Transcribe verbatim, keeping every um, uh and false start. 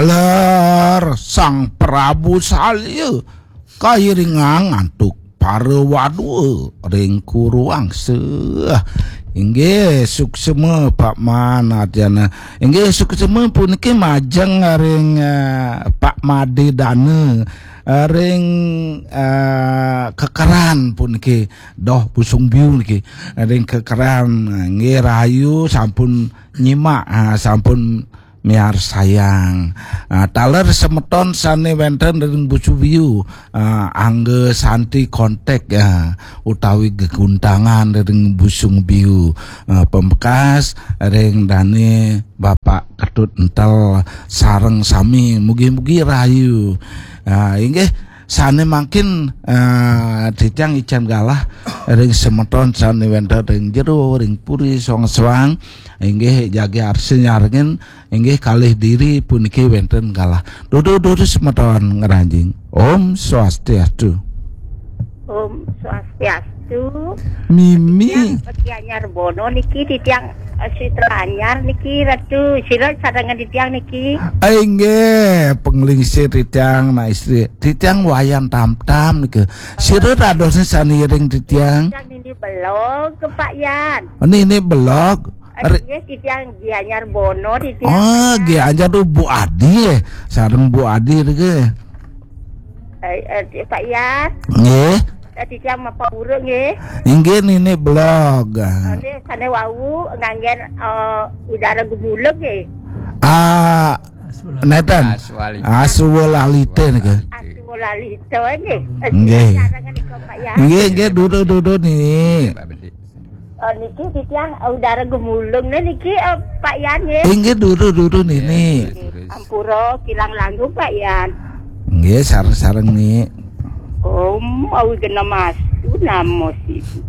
Ler Sang Prabu Salya kairingang antuk para wadua ring kuruang seuh. Inggih, suksema Pak Man Arjana. Inggih, suksema puniki majeng ring, eh, Pak Made Dana, eh, ring, eh, kekeran puniki, doh Busung Biu niki, ring kekeran. Inggih, rahayu sampun nyimak, ah, sampun miarsayang. Ah, taler semeton sane wenten ring Busung Biu, ah, angga santi kontak, ah, utawi geguntangan ring Busung Biu, ah, pembekas ring dane Bapak Ketut Entel sareng sami, mugi-mugi rahayu. Ah, inggih, sane mangkin, ah, titiang icen galah ring semeton sane wenten ring jero, ring puri, soang-soang, inggih jagi arsa nyarengin, inggih kalih diri puniki wenten galah. Dudu-dudu semeton ngranjing. Om Swastiastu. Om Swastiastu. Mimi. Titiang Gianyar Bono niki, titiang, eh, Sitra Anyar niki, Ratu. Sira sadangan titiang niki. Inggih, panglingsir titiang, nak istri. Titiang Wayan Tamtam niki. Sira dados sane iring titiang. Titiang nini belog ke Pak Yan. Nini belog. Re- Nggih, titiang Gianyar Bono, titiang. Oh, Gianyar tu Bu Adi, eh. Sareng Bu Adi niki. Eh, eh, Pak Yan. Nggih. Eh, titiang Mapawura nggih. Inggih, nini belog. Nggih, sane wau nganggen, eh, udara gumulug nggih. Ah, neten. Aswalita. Aswalita niki. Aswalita nggih. Eh, nggih. Sarangan nika, Pak Yan. Nggih, nggih, dudu-dudu nini. Pak Bedi. Oh, niki titiang, eh, udara gumulung nih niki, eh, Pak Yan nggih. Inggih, dudu-dudu nini. Nggih, ampura kirang langkung, Pak Yan. Nggih, sareng-sareng ni. Om Awighnam Astu Namo Siddhi.